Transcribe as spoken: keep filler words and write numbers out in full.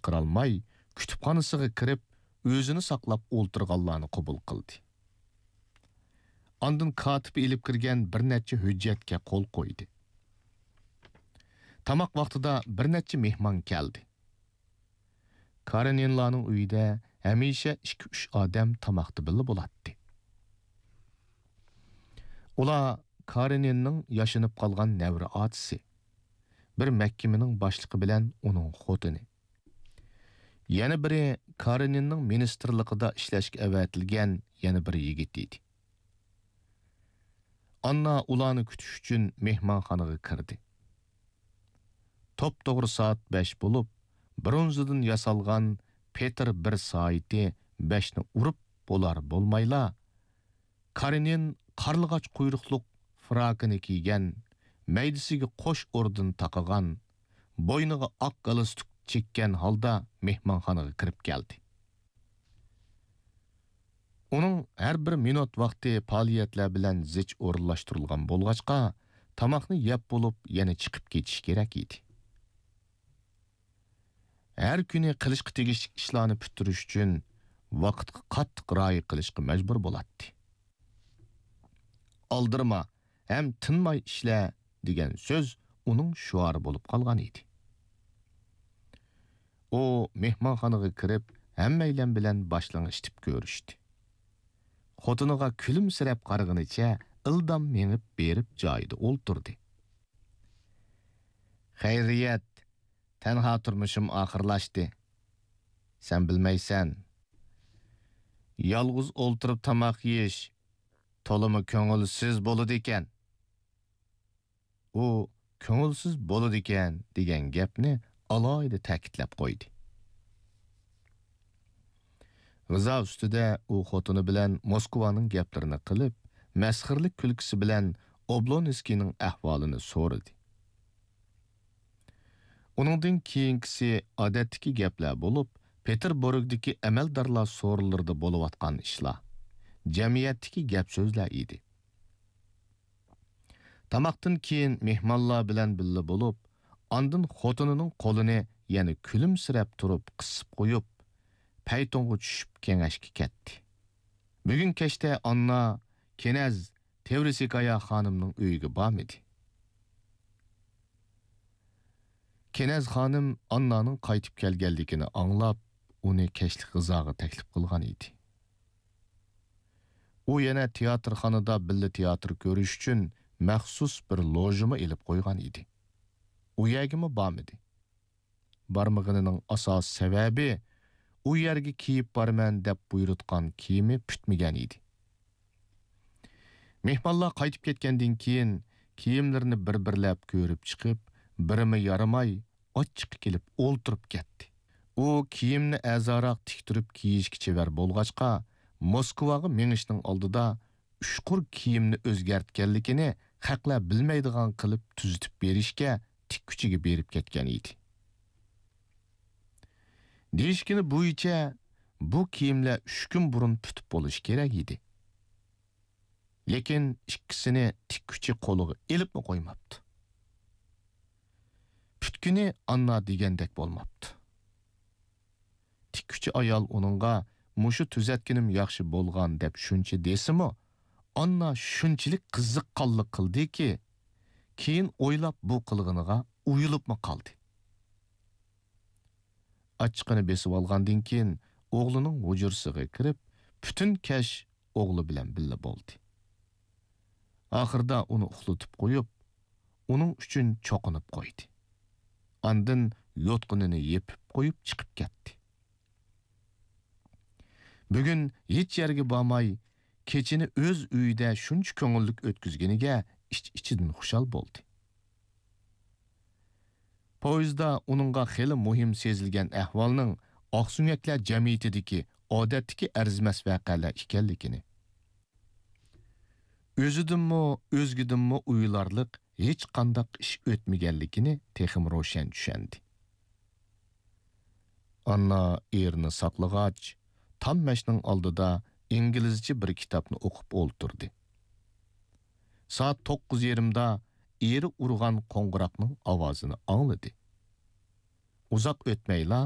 بېرەلمەي، كۇتۇپخانىسىغا كىرىپ، ئۆزىنى ساقلاپ ئولتۇرغانلارنى قوبۇل قىلدى. ئاندىن كاتىپى ئېلىپ كىرگەن بىر نەچچە ھۆججەتكە قول قويدى. تاماق ۋاقتىدا بىر نەچچە مېھمان كەلدى. كارېنىنلارنىڭ ئۆيىدە ھەمىشە ئىككى-ئۈچ ئادەم تاماقتا بىللە بولاتتى. ئۇلار كارېنىننىڭ ياشىنىپ قالغان نەۋرە ئاچىسى، بىر مەھكىمىنىڭ باشلىقى بىلەن ئۇنىڭ خوتۇنى. يەنە بىرى كارېنىننىڭ مىنىستىرلىقىدا ئىشلەشكە ئەۋەتىلگەن يەنە بىر يىگىت ئىدى. ئاننا ئۇلارنى كۈتۈش ئۈچۈن مېھمانخانىغا كىردى. توپتوغرا سائەت بەش بولۇپ، برونزىدىن ياسالغان پېتىر بىر سائىتى بەشنى ئۇرۇپ بولار-بولمايلا، كارېنىن قارلىغاچ قۇيرۇقلۇق فراكىنى كىيگەن، مەيدىسىگە قوش ئوردېن تاقىغان، بوينىغا ئاق گالستۇك چەككەن ھالدا مېھمانخانىغا كىرىپ كەلدى. ئۇنىڭ ھەر بىر مىنۇت ۋاقتى پائالىيەتلەر بىلەن زىچ ئورۇنلاشتۇرۇلغان بولغاچقا، تاماقنى يەپ بولۇپ يەنە چىقىپ كېتىش كېرەك ئىدى. ھەر كۈنى قىلىشقا تېگىشلىك ئىشلارنى پۈتتۈرۈش ئۈچۈن ۋاقىتقا قاتتىق رىئايە قىلىشقا مەجبۇر بولاتتى. «ئالدىرىما ھەم تىنماي ئىشلە» دېگەن سۆز ئۇنىڭ شوئارى بولۇپ قالغان ئىدى. ئۇ مېھمانخانىغا كىرىپ، ھەممەيلەن بىلەن باشلىڭىشتىپ كۆرۈشتى. خوتۇنىغا كۈلۈمسىرەپ قارىغىنىچە ئىلدام مېڭىپ بېرىپ جايىدا ئولتۇردى. «خەيرىيەت، تەنھا تۇرمۇشۇم ئاخىرلاشتى. سەن بىلمەيسەن. يالغۇز ئولتۇرۇپ تاماق يېيىش تولىمۇ كۆڭۈلسىز بولىدىكەن.» ئۇ «كۆڭۈلسىز بولىدىكەن» دېگەن گەپنى ئالاھىدە تەكىتلەپ قويدى. غىزا ئۈستىدە ئۇ خوتۇنى بىلەن موسكۋانىڭ گەپلىرىنى قىلىپ، مەسخىرىلىك كۈلكىسى بىلەن ئوبلونسكىينىڭ ئەھۋالىنى سورىدى. ئۇنىڭدىن كېيىنكىسى ئادەتتىكى گەپلەر بولۇپ، پېتېربۇرگدىكى ئەمەلدارلار سورۇنلىرىدا بولۇۋاتقان ئىشلار، جەمئىيەتتىكى گەپ-سۆزلەر ئىدى. تاماقتىن كېيىن مېھمانلار بىلەن بىللە بولۇپ، ئاندىن خوتۇنىنىڭ قولىنى يەنە كۈلۈمسىرەپ تۇرۇپ قىسىپ قويۇپ، پەيتۇنغا چۈشۈپ كېڭەشكە كەتتى. بۈگۈن كەچتە ئاننا، كېنەز، تېۋرىسكايا خانىمنىڭ ئۆيىگە بارمىدى. كېنەز خانىم ئاننانىڭ قايتىپ كەلگەنلىكىنى ئاڭلاپ، ئۇنى كەچلىك غىزاغا تەكلىپ قىلغان ئىدى. ئۇ يەنە تىياتىرخانىدا بىللە تىياتىر كۆرۈش ئۈچۈن مەخسۇس بىر لوژىمۇ ئېلىپ قويغان ئىدى. ئۇ يەرگىمۇ بارمىدى. بارمىغىنىنىڭ ئاساسىي سەۋەبى، ئۇ يەرگە كىيىپ بارىمەن دەپ بۇيرۇتقان كىيىمى پۈتمىگەن ئىدى. مېھمانلار قايتىپ كەتكەندىن كېيىن، كىيىملىرىنى بىر-بىرلەپ كۆرۈپ چىقىپ، بىرىمۇ يارىماي، ئاچچىقى كېلىپ ئولتۇرۇپ كەتتى. ئۇ كىيىمنى ئەرزانراق تىكتۈرۈپ كىيىشكە چېۋەر بولغاچقا، موسكۋاغا مېڭىشنىڭ ئالدىدا ئۇچقۇر كىيىمنى ئۆزگەرتكەنلىكىنى خەقلەر بىلمەيدىغان قىلىپ تۈزىتىپ بېرىشكە تىككۈچىگە بېرىپ كەتكەن ئىدى. دېيىشكىنى بويىچە، بۇ كىيىملەر ئۈچ كۈن بۇرۇن پۈتۈپ بولۇشى كېرەك ئىدى. لېكىن ئىككىسىنى تىككۈچى قولىغا ئېلىپمۇ قويماپتۇ. پۈتكىنى ئاننا دېگەندەك بولماپتۇ. تىككۈچى ئايال ئۇنىڭغا «مۇشۇ تۈزەتكىنىم ياخشى بولغان» دەپ شۇنچە دېسىمۇ، ئاننا شۇنچىلىك قىزىققانلىق قىلدىكى، كېيىن ئويلاپ بۇ قىلغىنىغا ئۇيىلىپمۇ قالدى. ئاچچىقىنى بېسىۋالغاندىن كېيىن، ئوغلىنىڭ ھۇجرىسىغا كىرىپ، پۈتۈن كەچ ئوغلى بىلەن بىللە بولدى. ئاخىرىدا ئۇنى ئۇخلىتىپ قويۇپ، ئۇنىڭ ئۈچۈن چوقۇنۇپ قويدى. ئاندىن يوتقىنىنى يېپىپ قويۇپ چىقىپ كەتتى. بۈگۈن ھېچ يەرگە بارماي، كېچىنى ئۆز ئۆيىدە شۇنچە كۆڭۈللۈك ئۆتكۈزگىنىگە ئىچ-ئىچىدىن خۇشال بولدى. پويىزدا ئۇنىڭغا خېلى مۇھىم سېزىلگەن ئەھۋالنىڭ ئاقسۆڭەكلەر جەمئىيىتىدىكى ئادەتتىكى ئەرزىمەس ۋەقەلەر ئىكەنلىكىنى، ئۆزىدىنمۇ، ئۆزگىدىنمۇ ئۇيىلارلىق ھېچقانداق ئىش ئۆتمىگەنلىكىنى تېخىمۇ روشەن چۈشەندى. ئاننا ئېرىنى ساقلىغاچ، تام مەشنىڭ ئالدىدا ئىنگلىزچە بىر كىتابنى ئوقۇپ ئولتۇردى. سائەت توققۇز يېرىمدا ئېرى ئۇرغان قوڭغۇراقنىڭ ئاۋازىنى ئاڭلىدى. ئۇزاق ئۆتمەيلا